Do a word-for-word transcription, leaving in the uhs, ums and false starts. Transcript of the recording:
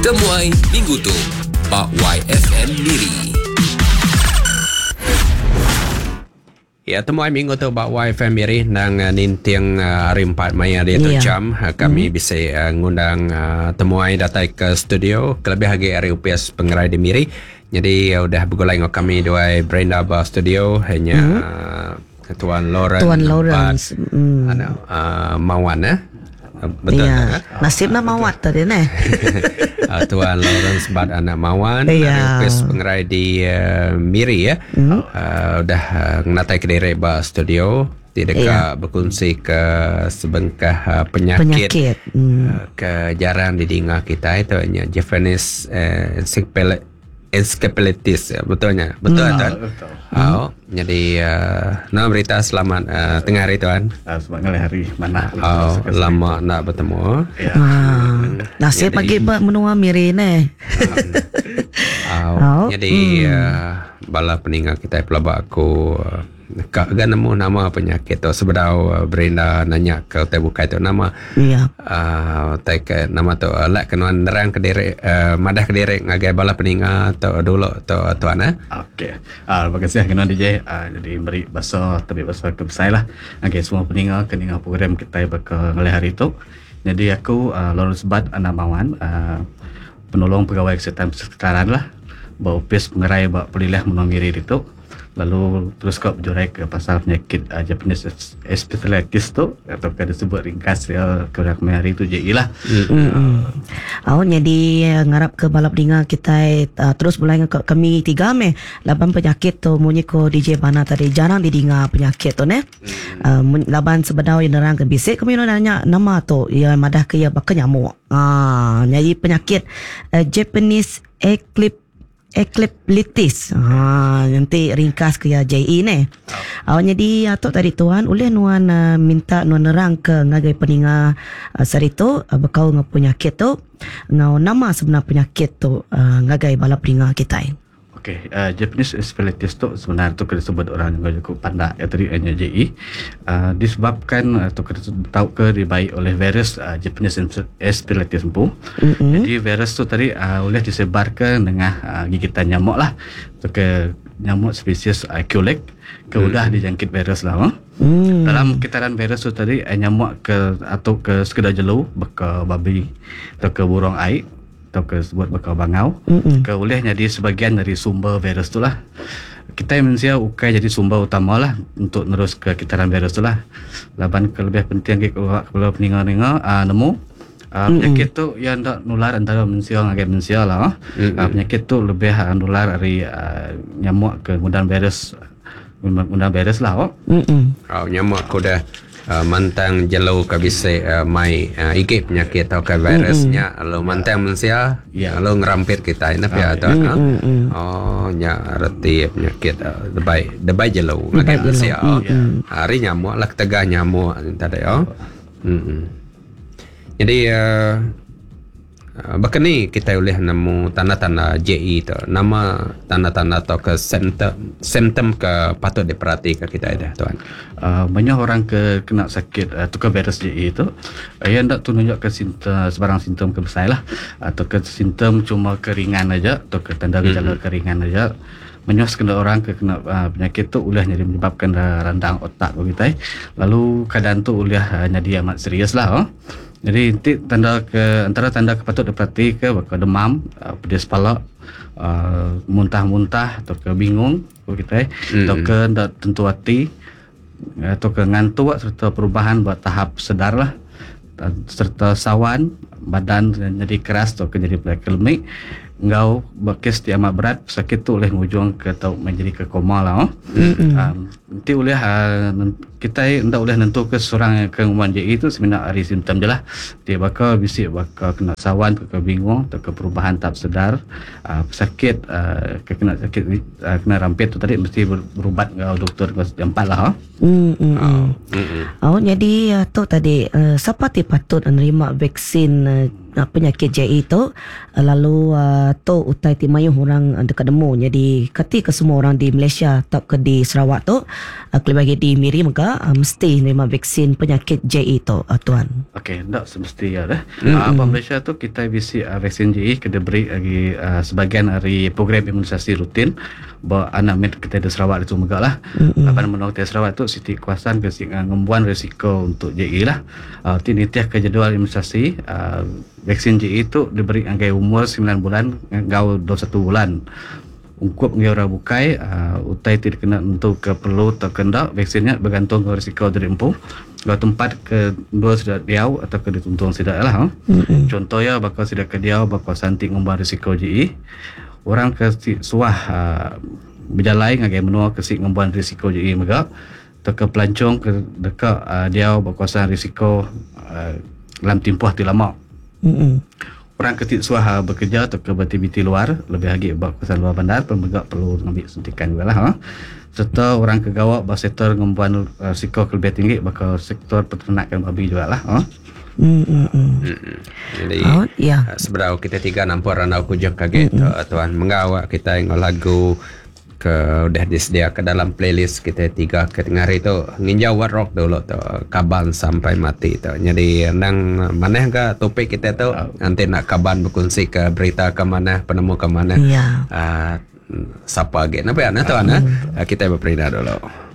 Temuai minggu tu ba Y F M Miri. Ya, temuai minggu tu ba Y F M Miri nang uh, ninting uh, hari empat maya dia tu Ya. jam uh, kami mm. bisa uh, ngundang uh, temuai datai ke studio kelebih lagi hari U P S Pengerai di Miri. Jadi uh, udah bergulai dengan kami dua Brenda ba studio hanya mm. uh, Tuan Lawrence. Tuan Lawrence. Mm. Anak uh, Mawan eh. Betul ya. tak? Eh? Nasib nak mawat tadi ne. uh, Tuan Lawrence Bat anak Mawan Ya. dari Opis Pengerai di uh, Miri ya. Mm. Uh, udah uh, ngatai ke diri ba studio tidak ya. Berkongsi ke sebengkah uh, penyakit, Penyakit. Hmm. Uh, ke jarang didengar kita itu hanya Japanese uh, encephalitis encephalitis ya, betulnya betul hmm. Tuan. Betul. Oh, jadi uh, nama berita selamat uh, tengah hari, tuan. Uh, selamat ngalih hari mana. Oh, lama nak bertemu. Ya. Ah, nasib Jadi- pagi ba menua Miri ne. Oh, Oh, jadi hmm. uh, bala peninggal kita pelabak aku uh, kak gan nemu nama penyakit tu sebedau uh, Brenda nanya ke utai bukai tu nama Ya. uh, tai ke nama tu uh, lak kenuan nerang ke diri uh, madah ke diri ngagai bala peninga tu dulu tu tuan eh. Okey. Ah, terima kasih kena D J. Ah, jadi beri bahasa tabi bahasa ke besar lah. Okey, semua peninga keninga program kita bakal ngalih hari tu. Jadi aku uh, Lawrence Bat anak Mawan, uh, penolong pegawai kesihatan persekitaran lah. Ba Opis Pengerai ba Pelilih Menua Miri itu. Lalu terus kau berjurai ke pasal penyakit uh, Japanese encephalitis tu atau ke disebut ringkas ya ke hari tu J E lah. Hmm. Oh, jadi eh, ngarap ke balap dinga kita uh, terus mulai ke kami tiga me laban penyakit tu munyi ko D J Bana tadi jarang didinga penyakit tu ne. Uh, laban sebenar yang nerang ke bisik kami nanya nama tu ya madah ke ya bakal nyamuk. Ah, jadi penyakit uh, Japanese eclipse Ecliptitis. Ha, nanti ringkas ke ya J E ne. Oh, jadi atuk tadi tuan oleh nuan uh, minta nuan nerang ke ngagai peninga uh, sarito uh, bekau ngau penyakit tu ngau nama sebenar penyakit tu uh, ngagai bala peninga kita. Okey, uh, Japanese encephalitis tu sebenarnya tu kena sebut orang yang cukup pandai ya tadi hanya J E. Uh, disebabkan atau kena tahu ke dibaik oleh virus uh, Japanese encephalitis tu. Mm-hmm. Jadi virus tu tadi uh, boleh disebarkan dengan uh, gigitan nyamuk lah. Atau ke nyamuk spesies uh, Culex ke mm. udah dijangkit virus lah. Huh? Mm. Dalam kitaran virus tu tadi uh, nyamuk ke atau ke sekedar jelu, ke babi atau ke burung air atau ke sebut bakal bangau mm-hmm. ke boleh jadi sebahagian dari sumber virus tu lah. Kita manusia ukai jadi sumber utama lah untuk nerus ke kitaran virus tu lah. Laban ke lebih penting ke kalau peninga-ninga uh, nemu Uh, penyakit tu yang tak nular antara manusia dengan manusia lah. Mm-hmm. Uh, penyakit tu lebih uh, nular dari uh, nyamuk ke kemudian virus kemudian virus lah. Oh. Mm-hmm. Oh, nyamuk aku dah uh, mantang jelu ke bisa uh, mai uh, igit penyakit atau ke virusnya mm-hmm. lalu mantang manusia Ya. lalu ngerampit kita ini ya tuan. Mm-hmm. Oh, nya reti penyakit uh, debai debai jelu Debai ngagai jelu. manusia. Oh. Hari nyamuk lah ketegah nyamuk tadi oh. Mm-hmm. Jadi uh, Uh, bahkan ni kita boleh nemu tanda-tanda J E tu. Nama tanda-tanda atau ke simptom simptom ke patut diperhatikan kita ada tuan. Uh, banyak orang ke kena sakit uh, tukar virus J E tu uh, yang tak tu nunjuk ke simptom sebarang simptom ke besar lah atau ke simptom cuma keringan aja atau ke tanda gejala mm-hmm. keringan aja. Banyak sekali orang ke kena uh, penyakit tu boleh jadi menyebabkan uh, radang otak begitu eh. Lalu keadaan tu boleh uh, jadi amat serius lah oh. Jadi nanti tanda ke antara tanda ke patut diperhati ke bakal demam, uh, pedis kepala, uh, muntah-muntah atau ke bingung begitu eh, mm-hmm. atau ke tak tentu hati atau ke ngantuk serta perubahan buat tahap sedar lah serta sawan badan jadi keras atau ke jadi kelemik ngau bekes ti amat berat sakit tu boleh ngujung ke atau menjadi ke koma lah oh. Mm-hmm. Um, nanti boleh uh, kita ndak boleh nentu ke seorang yang ke nguman J E tu sebenarnya hari simptom je lah. Dia bakal bisik bakal kena sawan ke, ke bingung atau ke perubahan tahap sedar uh, sakit uh, ke kena sakit uh, kena rampit tu tadi mesti berubat dengan doktor ke empat lah oh. Mm, mm, mm. Mm-mm. Oh, jadi uh, tu tadi uh, siapa ti patut menerima vaksin uh, penyakit J E tu, lalu uh, tu utai ti mayuh orang dekat nemu. Jadi ketika semua orang di Malaysia atau ke di Sarawak tu, uh, kelebih lagi di Miri mega uh, mesti nerima vaksin penyakit J E tu, uh, tuan. Okey, ndak semesti ya dah. Mm-hmm. Uh, apa Malaysia tu kita bisi uh, vaksin J E kena beri lagi uh, sebahagian dari program imunisasi rutin ba anak med kita di Sarawak itu mega lah. Mm-hmm. Lapan menua kita Sarawak tu siti kuasan ke ngembuan risiko untuk J E lah. Uh, ti nitiah ke jadual imunisasi uh, vaksin J E tu diberi anggai umur sembilan bulan ngau dua puluh satu bulan. Ungkup ngi orang bukai uh, utai ti kena untuk ke perlu atau kendak vaksinnya bergantung ke risiko dari empu. Kalau tempat ke dua sudah diau atau ke dituntung sudah lah. Huh? Mm-hmm. Contohnya bakal sudah ke diau bakal santik ngumbar risiko J E. Orang ke si, suah uh, berjalai ngagai menua ke si ngembuan risiko J E mega atau ke pelancong ke dekat uh, diau berkuasa risiko uh, dalam tempoh ti lama. Mm-hmm. Orang ke ti suah uh, bekerja atau ke beraktiviti luar lebih lagi berkuasa luar bandar pun mega perlu ambil suntikan juga lah. Huh? Serta orang ke gawak bersektor ngembuan uh, risiko lebih tinggi bakal sektor peternakan babi juga lah. Huh? Mm, mm, mm. Jadi oh, ya. Seberau kita tiga nampak randau kujang kaget mm, mm. Tuan mengawak kita yang lagu ke udah disediakan dalam playlist kita tiga ke tengah hari tu nginjau wat rock dulu tu kaban sampai mati tu. Jadi nang mana ke topik kita tu oh. Nanti nak kaban berkongsi ke berita ke mana penemu ke mana. Ya. Uh, siapa lagi? Napa ya tuan? Mm. Kita berperintah dulu.